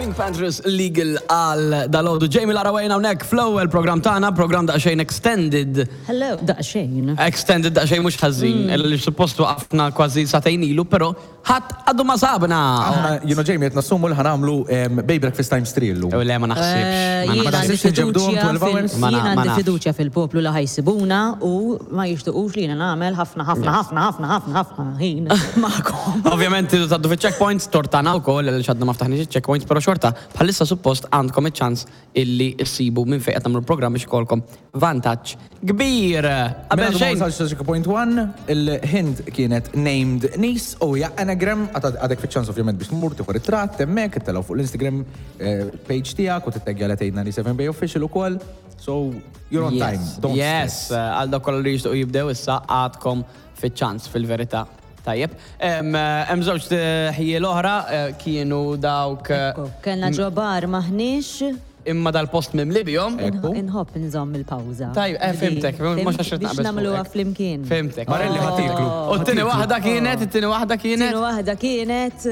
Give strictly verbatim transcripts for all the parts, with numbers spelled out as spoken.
PinkPantheress, Legal għal dalgħodu. Jamie Lara Wayne hawnhekk fl-ewwel program tagħna, program daqsxejn extended. Hello, daqsxejn. Extended daqsxejn mhux ħażin, mm. li suppost waqafna kważi sagħtejn ilu, però ħadd għadu ma sabna. Aħna, you know, Jamie, qed nassumu li ħa nagħmlu Bay Breakfast times three llum. Le, ma naħsibx. Eh, Ma Jien naħsibx. għandi naħsibx inġebduhom fiduċja twelve fil- hours? Ma na- Jien ma għandi nafx. fiduċja fil-poplu li ħa jsibuna u ma jixtuqux li jiena nagħmel ħafna ħafna ħafna ħafna ħafna ħafna ħin magħkom. Ovvjament tridu tgħaddu fiċ-checkpoints, tortana wkoll li għadna ma ftaħniex il-checkpoints, però xorta bħalissa suppost għandkom iċ-ċans illi issibu minn fejn qed nagħmlu l-programm biex ikollkom vantaġġ kbir. Qabel Mela xejn. ma checkpoint one, il-hint kienet named niece u hija anagram, għadek fiċ-ċans ovvjament biex tmur tieħu ritratt hemmhekk, ittellgħu fuq l-Instagram eh, page tiegħek u titteggja li tgħidna li seven Bay Official ukoll. So you're on time. Yes, Don't yes, stress. għal dak kollu li jixtiequ jibdew issa għadkom fiċ-ċans fil-verità. Tajjeb. Hemm hemm żewġ ħjiel oħra eh, kienu dawk eh, Ekku, Kellna ġobar maħniex imma dal-post mimli bihom. Ekku. inħobb nżomm il-pawża. Tajjeb, eh, fhimtek, mhux għax Biex naqbeż nagħmluha fuqek. flimkien. Fhimtek. Marelli ħa tieklu. U t-tieni waħda kienet, it-tieni waħda kienet. Tieni waħda kienet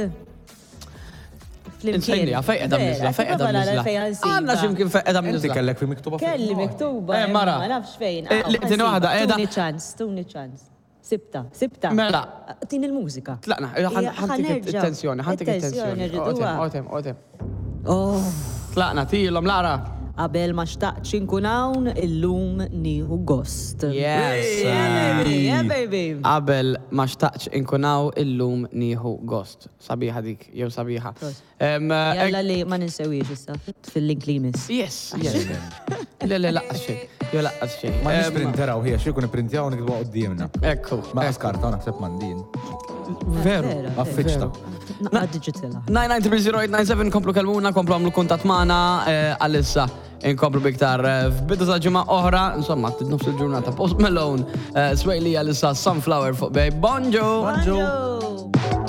flimkien. Insejnija, fejn qiegħda mniżla, fejn qiegħda mniżla. Għandna x'imkien fejn qiegħda Inti mniżla. kellek fi miktuba fuq. Kelli miktuba. Eh, mara. Ma nafx fejn. Eh, li- tieni waħda qiegħda- Tuni ċans, tuni ċans. Sibta, sibta. Mela. Tin il-mużika. Tlaqna, Ija, ħa ntik ħa nerġa'. it-tensjoni, ħa ntik it-tensjoni. rriduha. Otem, otem. Oh, Tlaqna, tilhom, Lara. qabel ma xtaqtx inkun hawn, illum nieħu gost. Yes. Yeah, baby, yeah, baby. Qabel ma xtaqtx inkun hawn, illum nieħu gost. Sabiħa dik, jew sabiħa. Em, eh, Jalla li ma ninsewix issa fil-link li jmiss. Yes, yes. Le, le, lanqas xejn. Jew lanqas xejn. Ma nix Em, printeraw ħija, xi jkun ipprintjaw nikdbu quddiemna. Ekku. Ma skarta naħseb mandin. Veru. Vera, Affiċta. Naqra digital. nine nine three zero eight nine seven, komplu kelmuna, komplu għamlu kuntatt magħna eh, għalissa. Inkomplu biktar eh, f'bidu ta' ġimgħa oħra, insomma, nofs il-ġurnata. Post Malone, eh, Swae Lee, għalissa Sunflower fuq Bay. Bonġu! Bonġu. Bonġu.